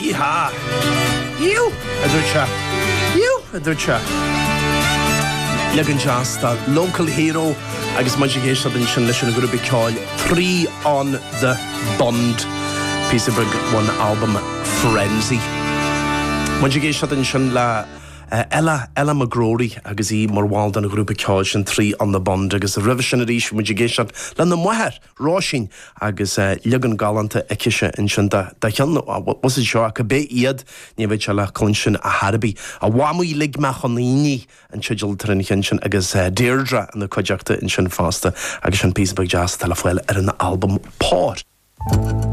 Yee-haw! Íú! a dúirt sé. Íú! a dúirt sé. Leagan deas de Local Hero agus muid ag éisteacht ansin leis an ghrúpa ceoil Three on the Bund, píosa beag ón albam Frenzy. Muid ag éisteacht ansin le Ella, Ella McGrory agus í mar bhall den ghrúpa ceoil sin Three on the Bund agus roimhe sin arís bhí muid ag éisteacht lena máthair, Róisín, agus leagan galánta aicise ansin de cheann, bhuel seo, cibé iad, ní bheidh sé le cluinstin ar chor ar bith. A Mhamaí lig mé chun aonaigh an teideal atá ar an cheann sin agus Deirdre ina cuideachta ansin fosta agus sin píosa beag deas atá le fáil ar an albam Pór.